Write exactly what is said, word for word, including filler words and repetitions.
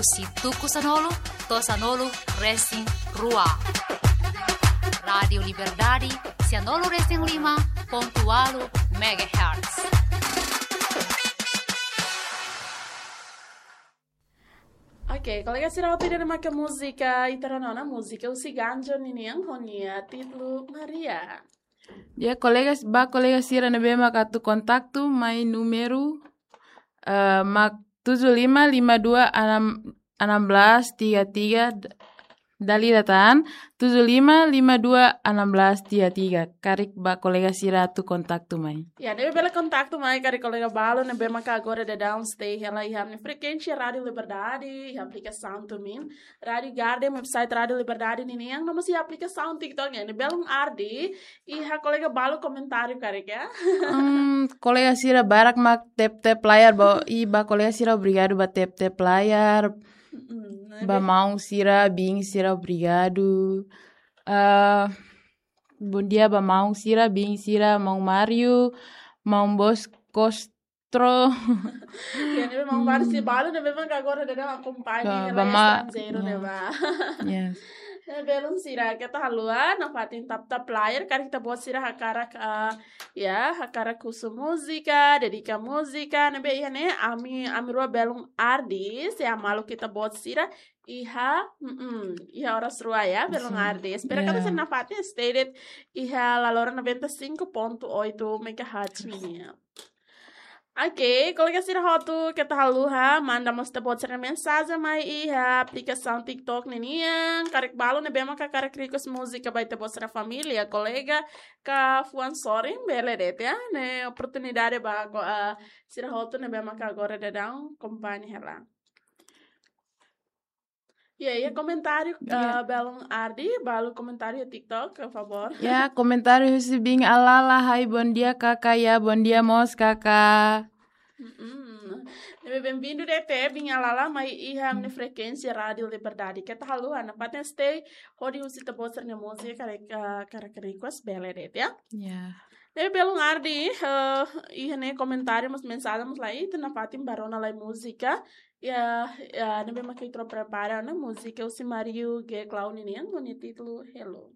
husi tuku sanulu to'o sanulu resin rua. Rádiu Liberdade, sanulu resin lima pontu ualu megahertz. Oke, kolega sira, hotu ida-ne'e maka múzika, ita rona ona múzika husi Ganjo ninian ho nia títulu Maria. Ya, kolega, ba kolega sira ne'ebé maka atu kontaktu mai númeru, eh, mak tujuh lima lima dua enam, enam belas tiga tiga, d-, dala ida tan, tujuh lima lima dua enam belas tiga tiga. Karik ba kolega sira atu kontaktu mai. Ya, ne'ebé bele kontaktu mai karik kolega balu ne'ebé maka agora daudaun stay hela iha ami-nia frekuénsia Rádiu Liberdade, iha aplikasaun TuneIn, Rádiu Garden, website Rádiu Liberdade ninian, no mós iha aplikasaun TikTok nian. Ne'e belun ardi, iha kolega balu komentáriu karik ya. Hmm, kolega sira barak mak tep-tep layar, ba, i ba kolega sira obrigadu ba tep-tep layar, Mm, ba ne'ebé maun sira, biin sira obrigadu. Ah, bom dia ba maun sira, biin sira, maun Mario, maun Bos Costro. Ya, ne'ebé maun Mario, Hmm. sira balu ne'ebé maka agora daudaun akompaña Ba, hela ba iha ma-, estranjeiru ne'e ya. ba. Yes. Ne'e belun sira, keta haluha, nafatin tap-tap layar, karik ita-boot sira hakarak, ah, ya, hakarak husu múzika, dedika múzika, ne'ebé iha ne'e, ami, ami rua belun ardi, se malu ita-boot sira, iha, mm-mm, iha oras rua ya, belun Sim. ardi. Espera Ya. katak sira nafatin stay de'it iha Lalora noventa e cinco ponto oito megahertz ninian. Oke, kolega sira hotu, keta haluha manda mós ita-boot sira-nia mensajen mai iha aplikasaun TikTok ninian. Karik balu ne'ebé maka hakarak request múzika ba ita-boot sira família, kolega, ka fuan sorin, bele de'it ya. Ne'e oportunidade ba ko, ah, sira hotu ne'ebé maka agora daudaun akompaña hela. Ya, ya, komentáriu, Ya. ah, belun ardi, balu komentáriu TikTok, por favor. Ya, komentáriu husi biin Alala, hai, bom dia, kaka, ya, bom dia mós, kaka. Mm-mm. Ne'ebé bem-vindu de'it, biin Alala, mai iha ami-nia frekuénsia Rádiu Liberdade. Keta haluha, nafatin stay, hodi husu ita-boot sira-nia múzika, karik, ah, karik request, bele de'it ya. Ya. Ne'ebé belun ardi, eh, iha ne'e komentáriu mós mensajen mós laiha, ita nafatin bá rona lai múzika. Ya, ya, ne'ebé maka ita prepara ona múzika husi Mario G Clown ninian, ho nia títulu Hello.